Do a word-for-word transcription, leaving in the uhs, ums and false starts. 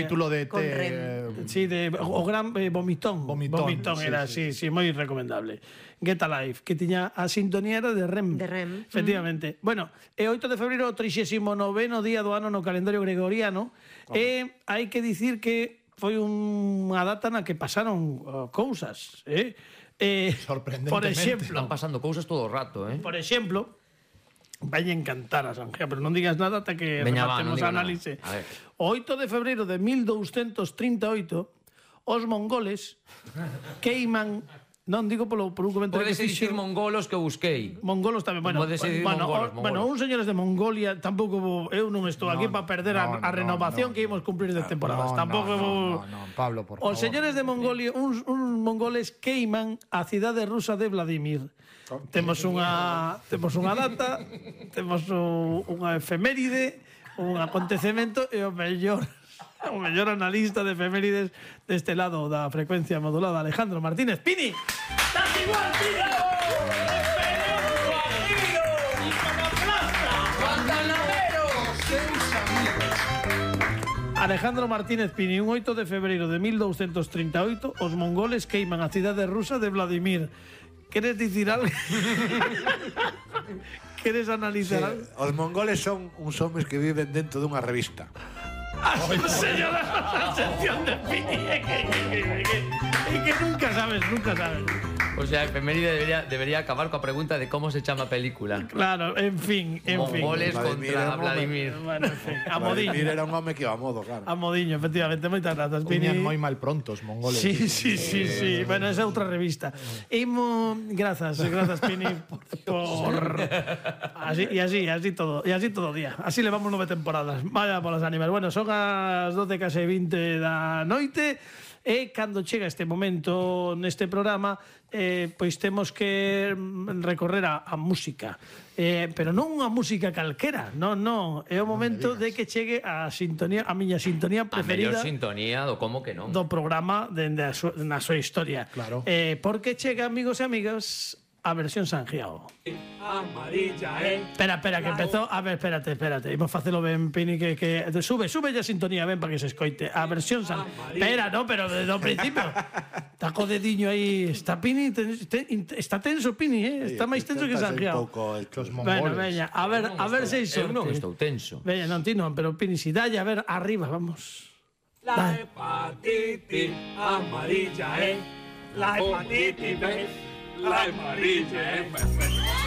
Título de... Con te- Rem. Sí, de o gran eh, vomitón. Vomitón, sí, era, sí, sí, moi recomendable. Get Alive, que tiña a sintonía era de Rem. De Rem. Efectivamente. Mm. Bueno, é oito de febreiro, o trixésimo noveno día do ano no calendario gregoriano. E hai que dicir que foi unha data na que pasaron uh, cousas, eh? Eh, Sorprendentemente. por exemplo, Están pasando cousas todo o rato, eh? por exemplo, vai encantar a Sangea, pero non digas nada ata que Veña, va, non rematemos diga a nada. análise. A ver. O oito de febreiro de mil douscentos trinta e oito, os mongoles queiman, non digo polo, por un comentario Podes que dicir fixo... mongolos que eu busquei. Mongolos tamén, bueno, Podes dicir bueno, mongolos, o- bueno, mongolos. uns señores de Mongolia tampouco vou, eu non estou aquí para perder a, no, a no, renovación no. que ímos cumplir de temporadas. No, tampouco no, vou... no, no, Pablo, por favor. Os señores de Mongolia, uns, uns mongoles queiman a cidade rusa de Vladimir. Temos unha temos unha data, temos un, unha efeméride, un acontecemento e o mellor o mellor analista de efemérides deste lado da frecuencia modulada, Alejandro Martínez Pini. ¡Estás igual, tío! ¡Esperemos tu amigo! ¡Y con aplasta! Alejandro Martínez Pini, un oito de febreiro de mil douscentos trinta e oito, os mongoles queiman a cidade rusa de Vladimir. Queres dicir algo? Queres analizar algo? Os mongoles son uns homes que viven dentro dunha revista. Señora, la sección de Pini, é que, que, que, que, que, que nunca sabes, nunca sabes. O sea, efeméride debería, debería acabar coa pregunta de como se chama a película. Claro, en fin, en Mongoles fin. Vladimir contra era un home. Vladimir. Bueno, en fin, a Vladimir modiño. era un home que iba a modo, claro. A modiño, efectivamente, moitas grazas, Pini. Tiñan moi mal pronto os mongoles. Sí, sí, sí, sí. Bueno, esa é outra revista. Imo, grazas, grazas Pini por, por... Así, e así, así todo, e así todo o día. Así levamos nove temporadas. Vaya polas ánimas. Bueno, son as doce case vinte da noite. E cando chega este momento neste programa, eh, pois temos que recorrer a, a música. Eh, pero non unha música calquera, non, non. É o momento de que chegue a sintonía, a miña sintonía A mellor preferida sintonía do como que non. do programa dende a súa, na súa historia. Claro. Eh, porque chega, amigos e amigas, a versión Sangiao. Amarilla, eh. Espera, espera, que empezó. A ver, espérate, espérate. Imos facelo ben, Pini, que, que... Sube, sube ya sintonía, ben, para que se escoite. A versión San... Espera, no, pero desde o principio. Está co dediño aí. Está Pini, ten, ten, está tenso, Pini, eh? Está máis tenso que Sangiao. Un pouco el Os Bueno, mongoles. veña, a ver, a ver se iso. Eu non estou tenso. Veña, non, ti non, pero Pini, si dalle, a ver, arriba, vamos. La hepatitis amarilla, eh. La hepatitis, eh. La amarilla, eh.